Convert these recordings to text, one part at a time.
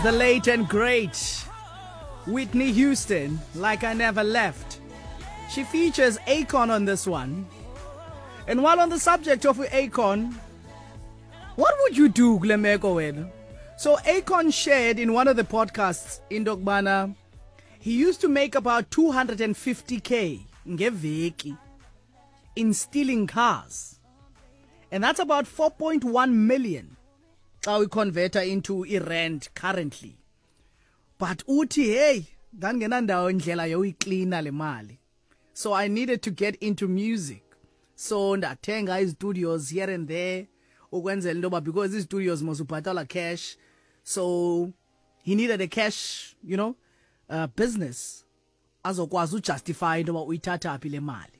the late and great Whitney Houston, Like I Never Left. She features Akon on this one. And while on the subject of Akon, what would you do kule meko wena? So Akon shared in one of the podcasts in Dogbana, he used to make about 250k ngeveki in stealing cars. And that's about 4.1 million xa uyiconverta into irand currently. But uthi hey, ndandingenandawo indlela yoyiklina le mali. So I needed to get into music. So ndathenga izistudios here and there ukwenzela into yoba because izistudios mos ubhatala cash. So he needed a cash, business azokwazi ujustify into yoba uyithatha phi le mali.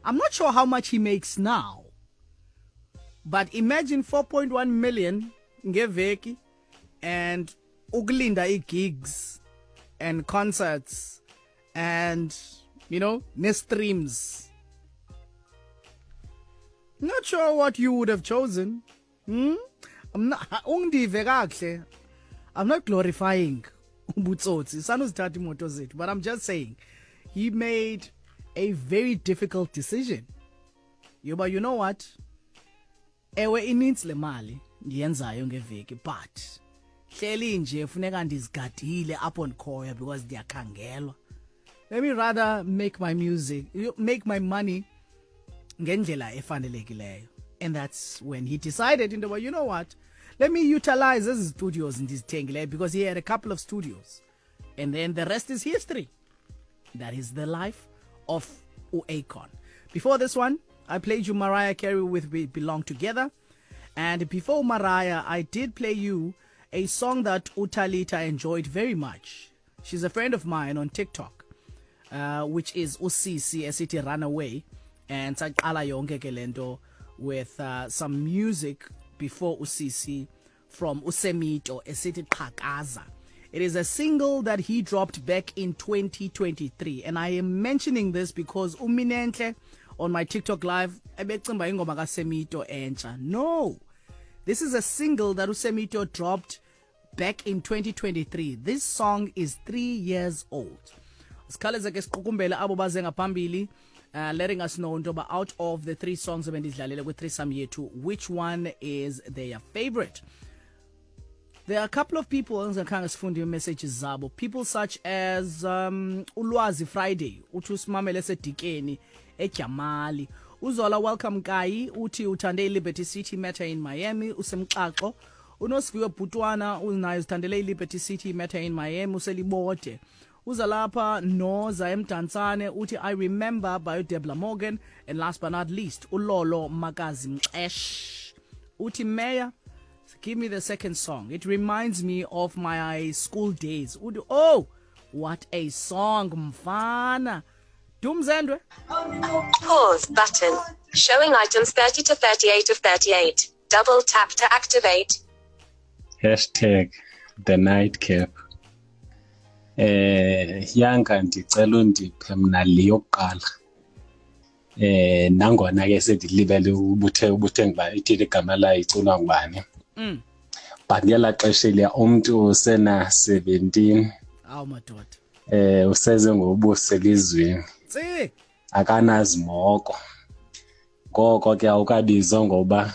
I'm not sure how much he makes now. But imagine 4.1 million ngeveki and ukulinda ii-gigs and concerts and ne-streams. Not sure what you would have chosen. I'm not, ungive kakuhle. I'm not glorifying ubutsotsi. Sanuzithatha imoto zethu, but I'm just saying he made a very difficult decision. Yoba, you know what? Ewe, inintsi le mali ndiyenzayo ngeveki, but hleli nje funeka ndizigadile apho ndikhoyo because ndiyakhangelwa. Let me rather make my music, make my money ngendlela efanelekileyo. And that's when he decided into yoba, you know what? Let me utilize ezi studios ndizithengileyo, because he had a couple of studios. And then the rest is history. That is the life of Akon. Before this one, I played you Mariah Carey with We Belong Together. And before Mariah, I did play you a song that Utalita enjoyed very much. She's a friend of mine on TikTok, which is Usisi esithi Runaway. And saqala yonke ke lento with some music before Usisi from Usemito esithi Qhakaza. It is a single that he dropped back in 2023. And I am mentioning this because uMinenhle on my TikTok live ebecimba ingoma kaSemito entsha. No. This is a single that Usemito dropped back in 2023. This song is 3 years old. Sikhawuleze ke siqukumbele abo baze ngaphambili, letting us know into yoba out of the three songs ebendidlalele kwi-threesome yethu, which one is their favorite. There are a couple of people engingakhange sifunde messages zabo, people such as uLwazi Friday, uthi usimamele esedikeni eJamali. Uzola Welcome Kai uthi uthande iLiberty City, Matter in Miami, usemxaxo. Unosiviwe Bhutwana unaye uzithandele iLiberty City, Matter in Miami, uselibode. Uza lapha noza eMdantsane, uthi I Remember by Debla Morgan. And last but not least, uLolo Makazi Mxesh uthi, "Mayor, give me the second song. It reminds me of my school days." Uthi, "Oh, what a song, mfana." Dumzendwe. Pause button. Showing items 30 to 38 of 38. Double tap to activate. #TheNightcap. Yanga, ndicela undiphe mna le yokuqala, nangona ke sendilibele ubuthe ngubani, ithini igama layo, iculwa ngubani, but ngelaa xesha eliya umntu usena 17. Awu madoda. Useze ngobuso elizweni. Tsi. Akanazimoko, ngoko ke awukabizwa ngoba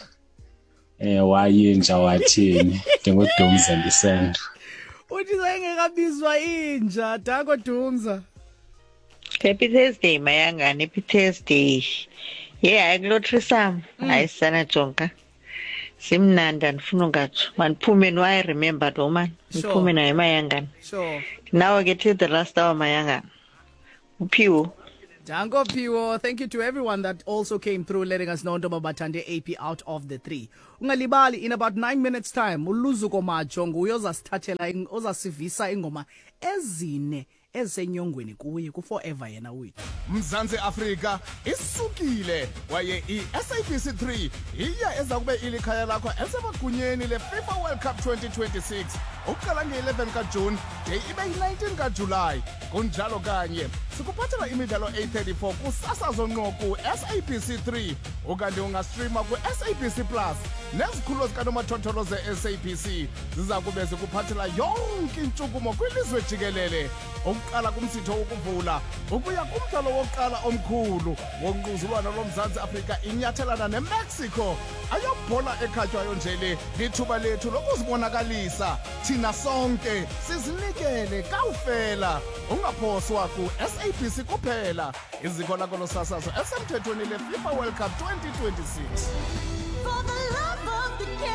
wayinja wathini. NdinguDumza, ndisendo. Uthi sayengekabizwa inja. Danko, Dumza. Happy Thursday, Mayangani. Happy Thursday. Yeah, hayi, kulo threesome. Hayi sana, jonga. Simnandi, andifuna ungatsho. Mandiphume no I Remember lo man. Ndiphume naye, Mayangani. Nawe ke till the last hour, Mayangani. Uphiwo. Danko, Piwo. Thank you to everyone that also came through letting us know ntoba bathande AP out of the three. Ungalibali, in about 9 minutes time, uLuzuko Majo nguye ozasithathela ozasivisa ingoma ezine ezisenyongweni kuye ku-forever yena wethu. Mzantsi Afrika isukile kwaye i-SABC 3 iya eza kube ilikhaya lakho esemagunyeni le-FIFA World Cup 2026 ukuqala nge-11 kaJuni de ibe yi-19 kaJulayi. Kunjalo kanye. Sikuphathela imidlalo 834 kusasazo ngqo ku-SABC 3 ukanti ungastrima ku-SABC Plus nezikhululo zikanomathotholo ze-SABC ziza kube zikuphathela yonke intshukumo kwilizwe jikelele ukuqala kumsitho wokuvula ukuya kumdlalo wokuqala omkhulu wonquzulwano loMzantsi Afrika inyathelana neMexico. Ayobhola ekhatywayo nje le, lithuba lethu lokuzibonakalisa thina sonke sizinikele kawufela. Ungaphoswa ku-SABC kuphela, iziko lakho losasazo esemthethweni leFIFA World Cup 2026. For the love of the game.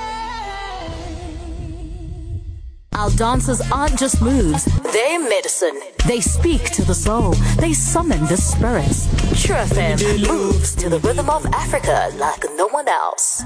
Our dances aren't just moves, they're medicine. They speak to the soul, they summon the spirits. True FM moves to the rhythm of Africa like no one else.